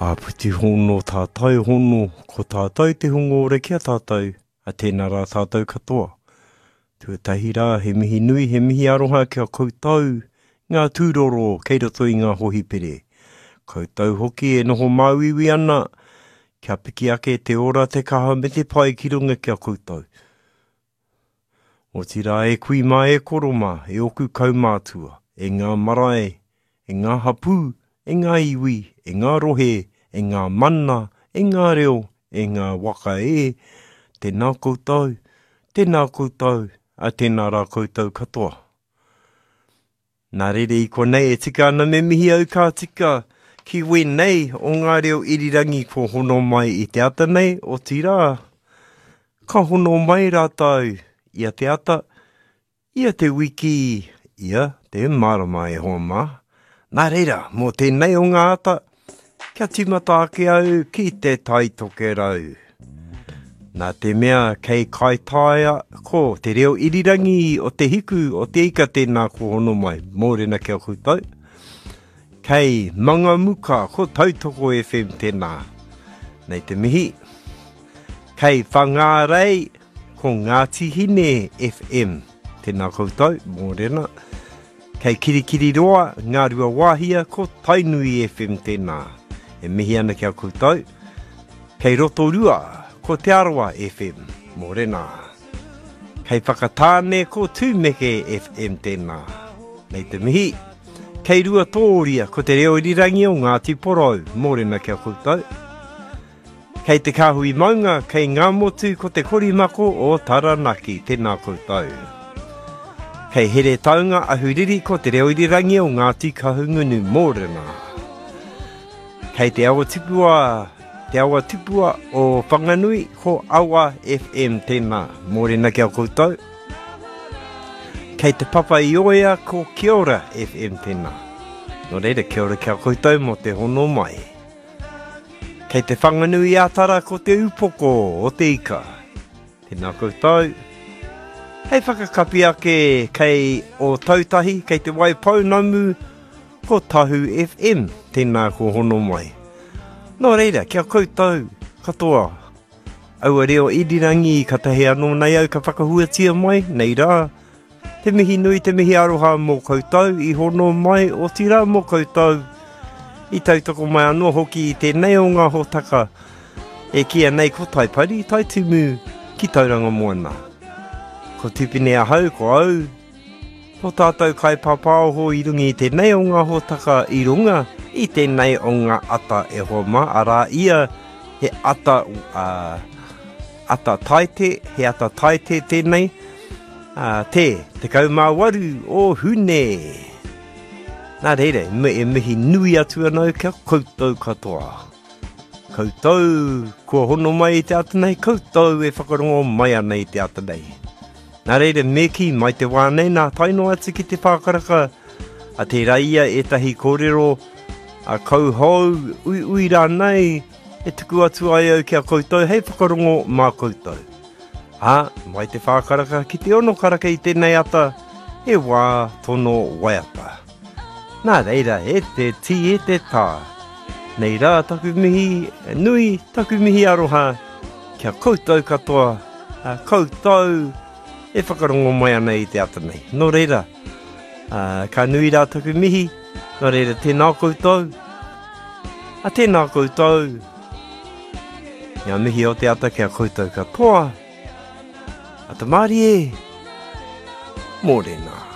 Āpiti hono, tātai hono, ko tātou te hunga ora ki a tātou, a tēnā rā tātou katoa. Tuatahi rā, he mihi nui, he mihi aroha ki a koutou, ngā tūroro kei roto i ngā hohipere. Koutou hoki e noho māuiui ana, kia piki ake te ora, te kaha me te pai ki runga ki a koutou. Otirā e kui mā e koro mā, e oku kaumātua, e ngā marae, e ngā hapū, e ngā iwi, e ngā rohe, e ngā mana, e ngā reo, e ngā waka e, tēnā koutou, tēnā koutou, a tēnā rā koutou katoa. Nā reira i konei e tika ana me mihi au ka tika ki wēnei o ngā reo irirangi kua hono mai i te ata nei, otirā, ka hono mai rātou ia te ata, ia te wiki, ia te marama e hoa mā. Nā reira, mō tēnei o ngā ata, Kia tīmata ake au ki te Tai Tokerau. Nā te mea kei Kaitaia ko te reo irirangi o te hiku o te ika tēnā ko hono mai, mōrena ki a koutou. Kei Mangamuka ko Tautoko FM tēnā. Nei te mihi. Kei Whangārei ko Ngāti Hine FM. Tēnā koutou, mōrena. Kei Kirikiriroa, Ngāruawāhia, ko Tainui FM tēnā. E mihi ana ki a koutou. Kei Rotorua, ko Te Arawa FM. Mōrena. Kei Whakatāne, ko Tūmeke FM tēnā. Nei te mihi. Kei Ruatōria, ko Te Reo Irirangi o Ngāti Porou. Mōrena ki a koutou. Kei te kāhui maunga, kei Ngāmotu ko te korimako o Taranaki, tēnā koutou. Kei Heretaunga Ahuriri ko te reo irirangi o Ngāti Kahungunu, mōrena. Kei te awa tipua, te awa tipua o Whanganui ko Awa FM tēnā, mōrena ki a koutou. Kei te Papa i Oea ko Kia Ora FM tēnā. Nō reira, kia ora ki a koutou mō te hono mai. Kei te Whanganui-a-Tara ko te upoko o te ika. Tēnā koutou. Hei whakakapi ake kei Ōtautahi, kei Te Waipounamu, ko Tahu FM. Tēnā ko hono mai. Nō reira, kia koutou katoa, aua reo irirangi katahi anō nei au ka whakahuatia mai, nei rā, Te mihi nui, te mihi aroha mō koutou i hono mai, otirā mō koutou i tautoko mai anō hoki i tēnei o ngā hōtaka e kīia nei ko Taipari, Taitimu ki Tauranga Moana. Ko Tipene ahau, ko au, ko tātou kaipāpāoho i runga i tēnei o ngā hōtaka i runga i tēnei o ngā ata e hoa mā, arā ia he ata, uh, ata taite, he ata taite tēnei, ā, te 18 o Hune. Nā reira, e mihi nui atu ana au kia koutou katoa. Koutou kua hono mai i te ata nei, koutou e whakarongo mai ana i te ata nei. Nā reira, me kī mai te wā nei nā tae noa atu ki te whākaraka, a tērā ia ētahi kōrero a kauhou, uiui rānei, e tuku atu ai au ki a koutou hei whakarongo mā koutou. Ā, mai te whā karaka ki te ono karaka i tēnei ata, he wā tono waiata. Nā reira, e te tī, e te tā. Nei rā taku mihi nui, taku mihi aroha, kia koutou katoa, a koutou e whakarongo mai ana i te ata nei. Nō reira, ā, ka nui rā taku mihi, nō reira tēnā koutou, a tēnā koutou, Ngā mihi o te ata ki a koutou katoa. Ata mārie, mōrena.